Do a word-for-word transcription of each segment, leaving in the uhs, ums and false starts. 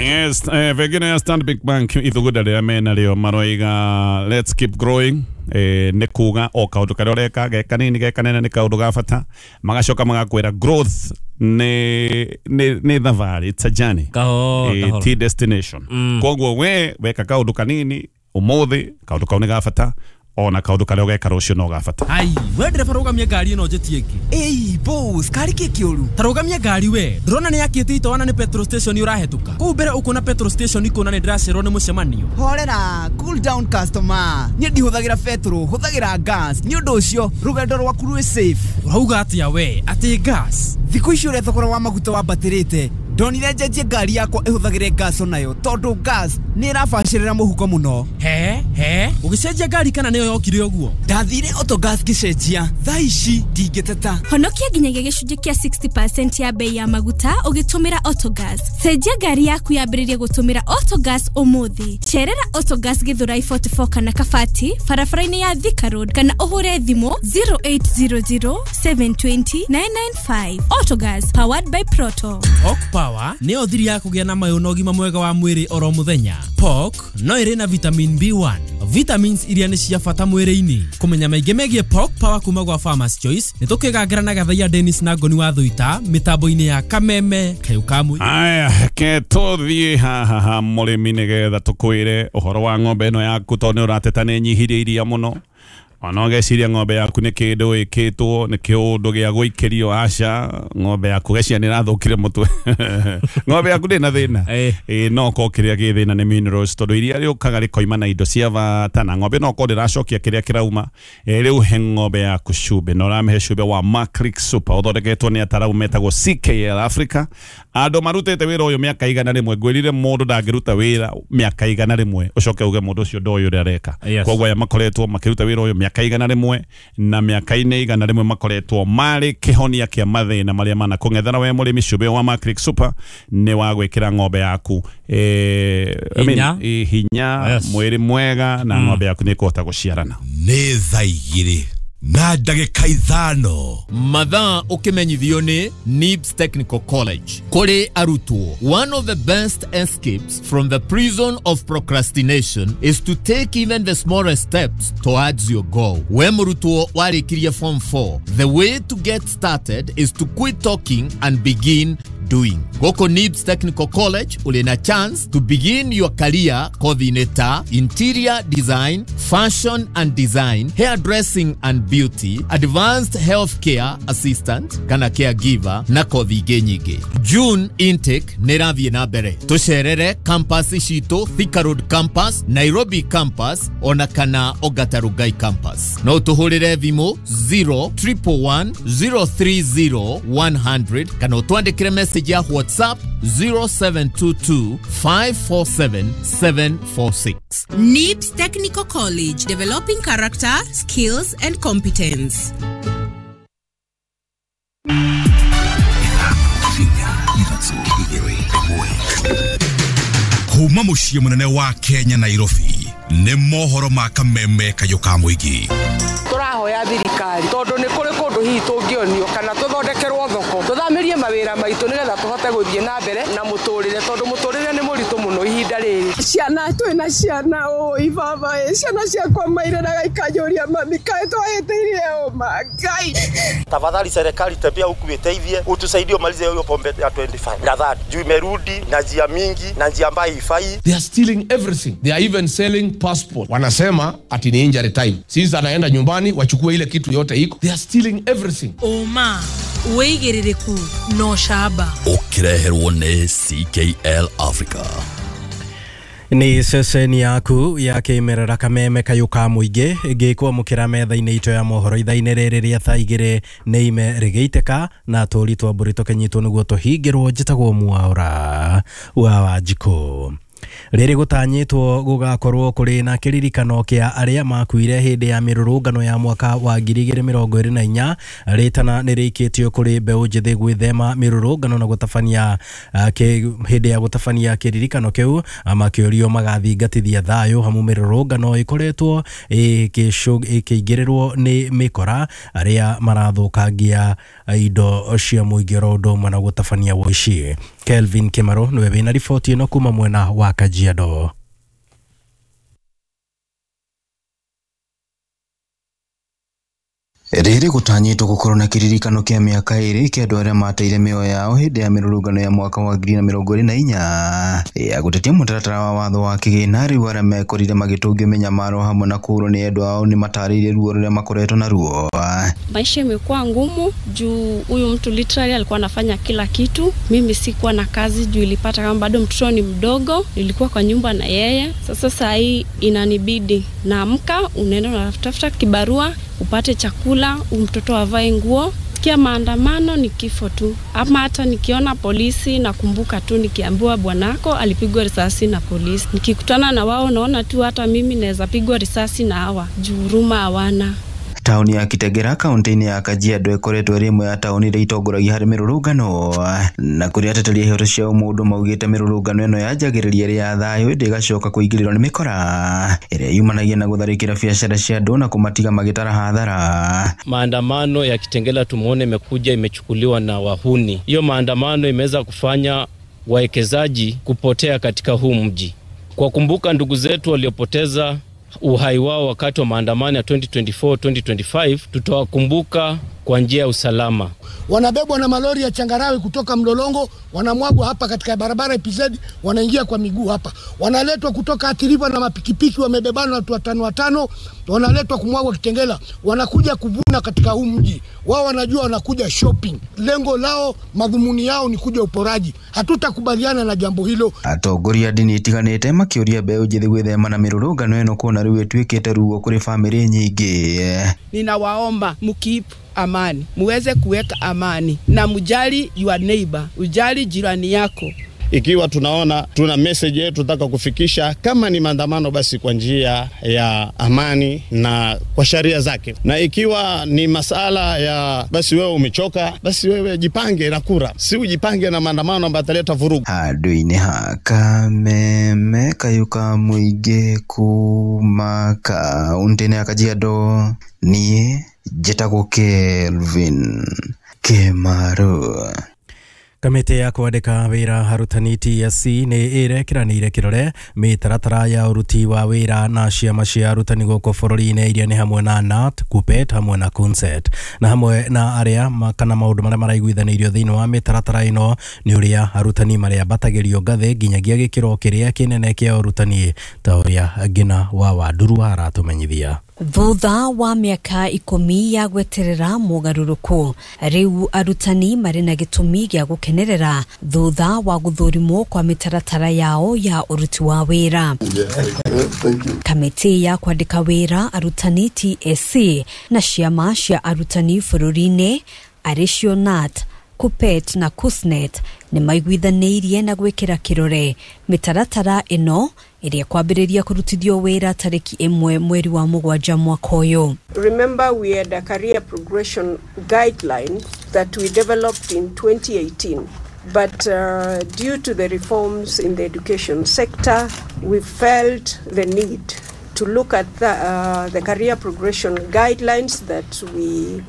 Yes, eh, vegine ya Stanbic Bank ithugunda rĩrĩa mena rĩo maroiga let's keep growing. Eh, nĩ kuga o kaũndũ karĩa ũreka ge kanini ge kanene nĩ kaũndũ ga bata, magacoka magakwĩra growth nĩ nĩ nĩ thabarĩ, it's a journey. Kahora, Eh, kahora. ti destination. Koguo we weka kaũndũ kanini ũmũthĩ, kaũndũ kau nĩ ga bata, ona kaũndũ karĩa ũgeka rũciũ no ga bata. Ai, we ndereba rũgamia ngari ĩno njĩtie ĩngĩ. Ĩi boss, kari kĩ kĩũru? Ta rũgamia ngari we, ndũrona nĩ yakĩte itoana nĩ petrol station ũrahetũka. Kũu mbere ũkuona petrol station ikũna nĩ ndĩracererwo nĩ mũcemanio. Horera, cool down customer. Niĩ ndihũthagĩra petrol, hũthagĩra gas. Nĩ ũndũ ũcio rũgendo rwaku rwĩ safe. Ũrauga atĩa we? Atĩ gas? Thikũ ici ũrĩa thogora wa maguta wambatĩrĩte, ndonire njenjie ngari yakwa ĩhũthagĩre gas onayo, tondũ gas nĩ ĩrabacĩrĩra mũhuko mũno. He he, ũgĩcenjia ngari kana nĩyo yokire ũguo? Ndathire Autogas ngĩcenjia, thaa ici ndingĩteta. Honokia nginyagia gĩcunjĩ kĩa sixty percent ya bei ya maguta ũgĩtũmĩra Autogas. Cenjia ngari yaku yambĩrĩrie gũtũmĩra Autogas ũmũthĩ. Cerera Autogas Githurai forty-four kana Kabati barabara-inĩ ya Thika Road kana ũhũre thimũ zero eight zero zero seven twenty nine nine five. Autogas powered by Proto. Pork Power nĩyo thiri ya kũgĩa na mayũ na ũgima mwega wa mwĩrĩ oro mũthenya. Pork no ĩrĩ na vitamin B one, vitamins iria nĩ cia bata mwĩrĩ-inĩ. Kũmenya maingĩ megiĩ Pork Power kuma gwa Farmers Choice nĩ tũkĩgangĩra na Gathaiya Dennis na Ngoni wa Thuita mĩtambo-inĩ ya Kameme Kayũ ka Mũingĩ. Aya, ke tũthiĩ haha ha mũrĩmi nĩgetha tũkwĩre ũhoro wa ng'ombe ĩno yaku, tondũ nĩ ũrateta nĩ nyihirie iria mũno. Ona ũgeciria ng'ombe yaku nĩ kĩndũ ĩkĩtwo, nĩ kĩũndũ gĩa gũikĩrio, aca, ng'ombe yaku geciria nĩ ĩrathũkire mũtwe. Ng'ombe yaku ndĩna thĩna. Eh. Ĩ, no korwo kĩrĩa gĩ thĩna nĩ minerals, tondũ iria rĩũkaga rĩkoima na indo cia bata, na ng'ombe no korwo ndĩracokia kĩrĩa kĩrauma. Ĩ, rĩu he ng'ombe yaku cumbĩ, na ũramĩhe cumbĩ wa Macrix Super ũthondeketwo nĩ ataramu metagwo C K L Africa. Andũ marutĩte wĩra ũyũ mĩaka igana rĩmwe. Ngwĩrire mũndũ ndangĩruta wĩra mĩaka igana rĩmwe ũcoke uge mũndũ ũcio ndoĩ ũrĩa areka. Yes. Koguo aya makoretwo makĩruta wĩra ũyũ mĩaka igana rĩmwe, na mĩaka-inĩ igana rĩmwe makoretwo marĩ kĩhonia kĩa mathĩna marĩa manakũng'ethera we mũrĩmi. Cumbĩ wa Macrix Super nĩ wa gwĩkĩra ng'ombe yaku, eh, I mean, Hinya. eh, hinya, Yes. mwĩrĩ mwega, na ng'ombe yaku nĩ ĩkũhota gũciarana. Nĩ thaa igĩrĩ na ndagĩka ithano. Mathaa ũkĩmenyithio nĩ Nibs Technical College. Kũrĩ arutwo, one of the best escapes from the prison of procrastination is to take even the smallest steps towards your goal. We mũrutwo warĩkirie form four, the way to get started is to quit talking and begin doing. Gũkũ Nibs Technical College ũrĩ na chance to begin your career kothi-inĩ ta interior design, fashion and design, hairdressing and beauty, advanced healthcare assistant kana caregiver na kothi ingĩ nyingĩ. June intake nĩ ĩrathiĩ na mbere. Tũcerere campus citũ, Thika Road campus, Nairobi campus ona kana Ongata Rongai campus. No tũhũrĩre thimũ zero triple one zero three zero one hundred kana ũtwandĩkĩre message ya WhatsApp zero seven two two five four seven seven four six. Nibs Technical College, developing character, skills and competence. Kuma mũciĩ mũnene wa Kenya Nairobi nĩ mohoro ma Kameme Kayũ ka Mũingĩ. Tũrahoya thirikari tondũ nĩ kũrĩ kũndũ hihi tũngĩonio kana tũthondekerwo thoko, tũthamĩrie mawĩra maitũ nĩgetha tũhote gũthiĩ na mbere na mũtũrĩre, tondũ mũtũrĩre nĩ mũritũ mũno ihinda rĩrĩ. Ciana twĩna ciana ũĩ baba ĩ, ciana ciakwa mairĩraga ikanjũria mami kaĩ twahĩtĩirie ũma Ngai. Tafadhali serikali tembea huku iteithie, utusaidie umalize hiyo pombe ya twenty-five na thirty juu imerudi na njia mingi na njia ambayo haifai. They are stealing everything. They are even selling passport. Wanasema ati ni injury time. Since anaenda nyumbani wachukue ile kitu yote iko. They are stealing everything. Oma wĩigĩrĩrĩku no shaba. Ũkĩreherwo nĩ C K L Africa. Ni ceceni yaku ya kĩmerera Kameme Kayũ ka Mũingĩ ngĩkwamũkĩra metha-inĩ itũ ya mohoro ithaa-inĩ rĩrĩ rĩa thaa igĩrĩ nĩ ime rĩgĩitĩka na tũri twa mbũri tũkĩnyitwo nĩguo tũhingĩrwo. Njĩtagwo Mwaũra wa Wanjikũ. Rĩrĩ gũtanyĩtwo gũgakorwo kũrĩ na kĩririkano kĩa arĩa makuire hĩndĩ ya mĩrũrũngano ya mwaka wa ngiri igĩrĩ mĩrongo ĩrĩ na inya. Rĩtana nĩ rĩikĩtio kũrĩ mbeũ njĩthĩ gwĩthema mĩrũrũngano na gũtabania hĩndĩ ya gũtabania kĩririkano kĩu, makĩũrio magathingatithia thayũ hamu mĩrũrũngano ĩkoretwo ĩkĩingĩrĩrwo nĩ mĩkora arĩa marathũkangia indo cia mũingĩ oro ũndũ ũmwe na gũtabania woici. Kelvin Kimaro niwe wina riboti ino kuma mwena wa Kajiado. Rĩrĩ gũtanyĩtwo gũkorwo na kĩririkano kĩa mĩaka ĩrĩ kĩa andũ arĩa mateire mĩoyo yao hĩndĩ ya mĩrũrũngano ya mwaka wa ngiri na mĩrongo ĩrĩ na inya ya gũtetia mũtaratara wa watho wa kĩgĩna. Rĩu arĩa mekorire magĩtũngio mĩnyamaro hamwe na kũũrwo nĩ endwa ao nĩ matarĩirie ruo rũrĩa makoretwo naruo. Maisha imekuwa ngumu juu huyu mtu literally alikuwa anafanya kila kitu. Mimi sikuwa na kazi juu ilipata kama bado mtoto ni mdogo, nilikuwa kwa nyumba na yeye. Sasa saa hii inanibidi naamka, unaenda unatafuta kibarua upate chakula, mtoto avae nguo. Kia maandamano ni kifo tu. Ama hata nikiona polisi nakumbuka tu nikiambiwa bwanako alipigwa risasi na polisi. Nikikutana na wao naona tu hata mimi naweza pigwa risasi na hawa. Juu huruma hawana. Tauni ya Kitegera kaunti-inĩ ya Kajiado ĩkoretwo ĩrĩ ĩmwe ya tauni iria itongoragia harĩ mĩrũrũngano na kũrĩa ateteri a ihoto cia ũmũndũ maugĩte mĩrũrũngano ĩno yanjagĩrĩria ĩrĩ ya thayũ ĩndĩ ĩgacoka kũingĩrĩrwo nĩ mĩkora ĩrĩa yumanagia na gũtharĩkĩra biacara cia andũ na kũmatiga magĩtara hathara. Maandamano ya Kitengela tumuone imekuja imechukuliwa na wahuni. Hiyo maandamano imeweza kufanya wawekezaji kupotea katika huu mji. Kwa kumbuka ndugu zetu waliopoteza uhai wao wakati wa maandamano ya twenty twenty-four twenty twenty-five, tutawakumbuka kwa njia ya usalama. Wanabebwa na malori ya changarawe kutoka Mlolongo, wanamwagwa hapa katika barabara E P Z, wanaingia kwa miguu hapa. Wanaletwa kutoka Athi River na mapikipiki, wamebebana watu watano watano, wanaletwa kumwagwa Kitengela. Wanakuja kuvuna katika huu mji. Wao wanajua wanakuja shopping. Lengo lao, madhumuni yao ni kuja uporaji. Hatutakubaliana na jambo hilo. Atongoria ndini itiganĩte makĩũria mbeũ njĩthĩ gwĩthema na mĩrũrũngano ĩno kuona rĩu ĩtuĩkĩte ruo kũrĩ famĩlĩ nyingĩ. Ninawaomba mkeep amani, muweze kuweka amani na mjali your neighbor, ujali jirani yako. Ikiwa tunaona tuna message yetu tunataka kufikisha, kama ni maandamano basi kwa njia ya amani na kwa sharia zake, na ikiwa ni masala ya basi wewe umechoka, basi wewe jipange na kura, si ujipange na maandamano ambayo yataleta vurugu. Handũ-inĩ ha Kameme kayuka mũingĩ kuma kaunti-inĩ ya Kajiado, niĩ njĩtagwo Kelvin Kimaru. Kamĩtĩ ya kwandĩka wĩra arutani T S C nĩ ĩrekeranĩire kĩrore mĩtaratara ya ũruti wa wĩra na ciama cia arutani gũkũ bũrũri-inĩ iria nĩ hamwe na K N A T, KUPPET hamwe na KUNSET na hamwe na arĩa kana maũndũ marĩa maraiguithanĩirio thĩinĩ wa mĩtaratara ĩno nĩ ũrĩa arutani marĩambatagĩrio ngathĩ nginyagia gĩkĩro kĩrĩa kĩnene kĩa ũrutani ta ũrĩa Ngina wa Wanduru aratũmenyithia. Thutha wa mĩaka ikũmi ya gweterera mũgarũrũku, rĩu arutani marĩ na gĩtũmi gĩa gũkenerera thutha wa gũthũrimwo kwa mĩtaratara yao ya ũruti wa wĩra. Kamĩtĩ ya kwandĩka wĩra arutani T S C na ciama cia arutani bũrũri-inĩ arĩcio K N A T, KUPPET na KUSNET nĩ maiguithanĩirie na gwĩkĩra kĩrore mĩtaratara ĩno ĩrĩa kwambĩrĩria kũrutithio wĩra tarĩki ĩmwe mweri wa mũgwanja mwaka ũyũ. Remember we had a career progression guideline that we developed in twenty eighteen, but uh, due to the reforms in the education sector, we felt the need to look at the, uh, the career progression guidelines that we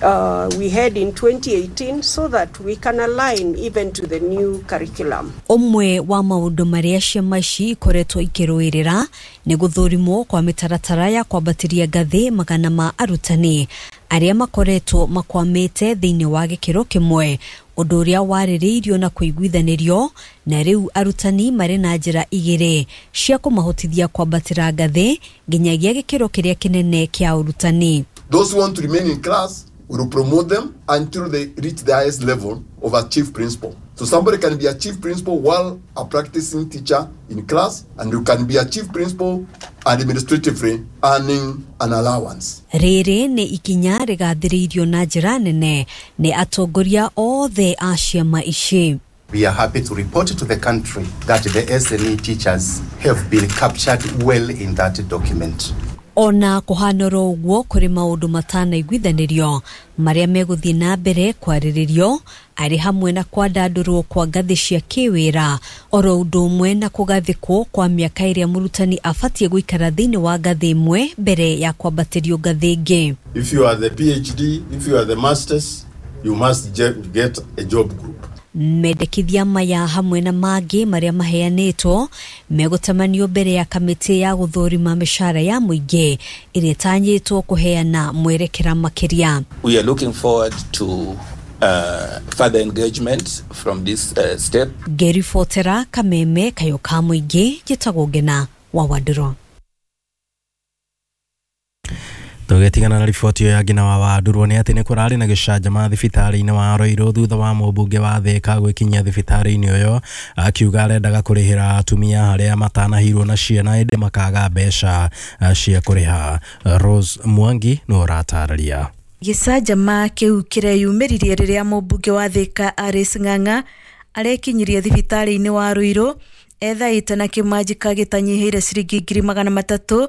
Uh, we had in twenty eighteen so that we can align even to the new curriculum. Ũmwe wa maũndũ marĩa ciama ici ikoretwo ikĩrũĩrĩra nĩ gũthũrimwo kwa mĩtaratara ya kwambatĩria ngathĩ magana ma arutani arĩa makoretwo makwamĩte thĩinĩ wa gĩkĩro kĩmwe, ũndũ ũrĩa warĩrĩirio na kũiguithanĩrio, na rĩu arutani marĩ na njĩra igĩrĩ cia kũmahotithia kwambatĩra ngathĩ nginyagia gĩkĩro kĩrĩa kĩnene kĩa ũrutani. Those who want to remain in class, we will promote them until they reach the highest level of a chief principal. So somebody can be a chief principal while a practicing teacher in class, and you can be a chief principal administratively earning an allowance. Rĩrĩ nĩ ikinya rĩgathĩrĩirio na njĩra nene nĩ atongoria othe a ciama ici. We are happy to report to the country that the S N E teachers have been captured well in that document. Ona kũhanoro ũguo kũrĩ maũndũ matanaiguithanĩrio marĩa megũthiĩ na mbere kwarĩrĩrio arĩ hamwe na kwandandũrwo kwa ngathĩ cia kĩwĩra oro ũndũ ũmwe na kũgathĩkwo kwa mĩaka ĩrĩa mũrutani abatiĩ gũikara thĩinĩ wa ngathĩ ĩmwe mbere ya kwambatĩrio ngathĩ ĩngĩ. If you are the P H D, if you are the masters, you must get a job group. Mendekithia maya hamwe na mangĩ marĩa maheanĩtwo megũtamanio mbere ya kamĩtĩ ya gũthũrima mĩcara ya mũingĩ ĩrĩa ĩtanyĩtwo kũheana mwerekera makĩria. We are looking forward to uh, further engagement from this uh, step. Ngĩribotera Kameme Kayũ ka Mũingĩ, njĩtagwo Ngena wa Wandũrũ. Tũgĩtigana na riboti ĩyo ya Ngina wa Wandũrwo nĩ atĩ nĩ kũrarĩ na gĩcanjama thibitarĩ-inĩ wa Roirũ thutha wa mũmbunge wa Thĩka gwĩkinyia thibitarĩ-inĩ ũyũ akiuga arendaga kũrĩhĩra atumia arĩa matanahirwo na ciana ĩndĩ makaga mbeca cia kũrĩha. Rose Mwangi nĩwe ũratarĩria. Gĩcanjama kĩu kĩreyumĩririe rĩrĩa mũmbunge wa Thĩka Alice Ng'ang'a arekinyirie thibitarĩ-inĩ wa Ruiru ethaĩte na kĩmanjĩka gĩtanyihĩire ciringi ngiri magana matatũ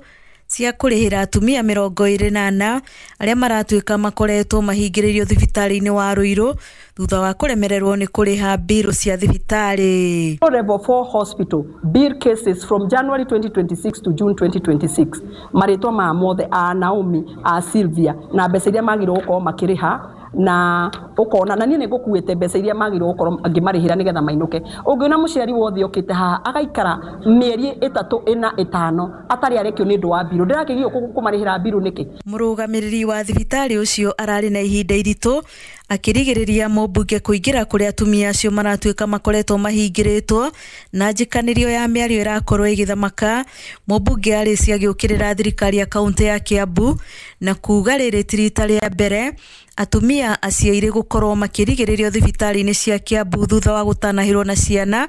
cia kũrĩhĩra atumia mĩrongo ĩrĩ na ana arĩa maratuĩka makoretwo mahingĩrĩirio thibitarĩ-inĩ wa Ruiru thutha wa kũremererwo nĩ kũrĩha mbirũ cia thibitarĩ. Level four hospital bill cases from January twenty twenty-six to June twenty twenty-six marĩtwa ma mothe a Naomi a Sylvia na mbeca iria magĩrĩirwo gũkorwo makĩrĩha na ukona na niĩ nĩ ngũkuĩte mbeca iria magĩrĩirwo gũkorwo ngĩmarĩhĩra nĩgetha mainũke. Ũngĩona mũciari wothe okĩte haha agaikara mĩeri ĩtatũ ĩna ĩtano atarĩ arekio nĩ ũndũ wa mbirũ, ndĩrakĩgio kũmarĩhĩra mbirũ nĩkĩ? Mũrũgamĩrĩri wa thibitarĩ ũcio ararĩ na ihinda iritũ akĩrigĩrĩria mũmbunge kũingĩra kũrĩa atumia acio maratuĩka makoretwo mahingĩrĩtwo na njikanĩrio ya mĩario ĩrakorwo ĩgĩthamaka. Mũmbunge Alice agĩũkĩrĩra thirikari ya kaũntĩ ya Kiambu na kuga rĩrĩ ti rita rĩa mbere atumia aciairĩ gũkorwo makĩrigĩrĩrio thibitarĩ-inĩ cia Kiambu thutha wa gũtanahĩrwo na ciana,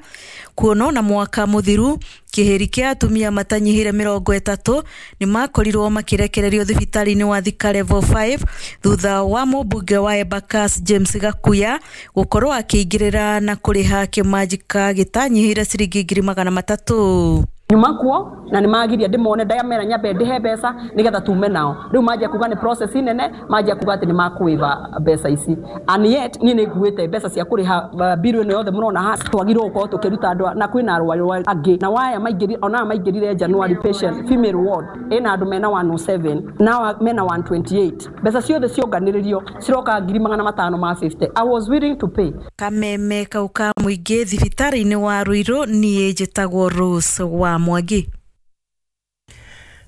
kuona na mwaka mũthiru kĩhĩri kĩa atumia matanyihĩire mĩrongo ĩtatũ nĩ makorirwo makĩrekererio thibitarĩ-inĩ wa Thika Level five thutha wa mũmbunge wa Embakasi James Gakuya gũkorwo akĩingĩrĩra na kũrĩha kĩmanjĩka gĩtanyihĩire ciringi ngiri magana matatũ. Nyuma kuo na nĩ magiria ndĩmone ndamera nyambe ndĩhe mbeca nĩgetha tume nao. Rĩu manjia kuga nĩ process nene, manjia kuga atĩ nĩ makwĩva mbeca ici, and yet niĩ nĩ nguĩte mbeca cia kũrĩha bill ĩno yothe mũrona haha. Twagĩrĩirwo gũkorwo tũkĩruta andũ na kwĩna arwaru angĩ na waya maingĩrire ona maingĩrire January patient female ward ĩna andũ mena one oh seven na mena one twenty-eight, mbeca ciothe cionganĩrĩrio ciroka ngiri magana matano ma fifty. I was willing to pay. Kameme kau ka Mũingĩ thibitarĩ-inĩ wa Ruiru, niĩ njĩtagwo Rose wa Mwangi.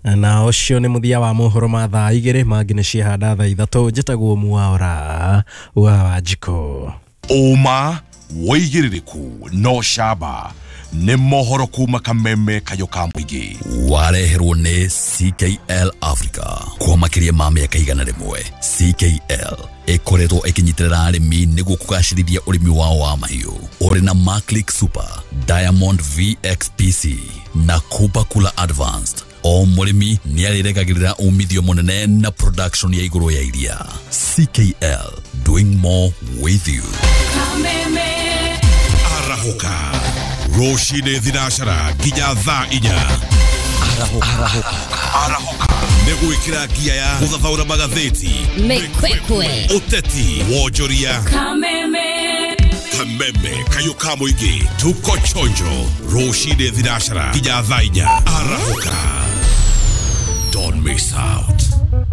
Na ũcio nĩ mũthia wa mohoro ma thaa igĩrĩ, mangĩ nĩ ciahanda thaa ithatũ. Njĩtagwo Mwaura wa Wanjikũ. Ũma wĩigĩrĩrĩku no camba nĩ mohoro kuma Kameme Kayũ ka Mũingĩ wareherwo nĩ C K L Africa kwa makĩria ma mĩaka igana rĩmwe. C K L ĩkoretwo ĩkĩnyitĩrĩra arĩmi nĩguo kũgacĩrithia ũrĩmi wao wa mahiũ ũrĩ na Maclick Super, Diamond V X P C na Kuba Kula Advanced. O mũrĩmi nĩ arĩregagĩrĩra umithio mũnene na production ya igũrũ ya iria. C K L, doing more with you. Kameme arahũka rũcinĩ thinacara nginya thaa inya. Arahũka arahũka nĩ gwĩkĩra ngia ya gũthathaũra magathĩti, mĩkwekwe, ũteti, wonjoria. Kameme Kameme Kayũ ka Mũingĩ tuko chonjo rũcinĩ thinacara nginya thaa inya. Arahũka, don't miss out.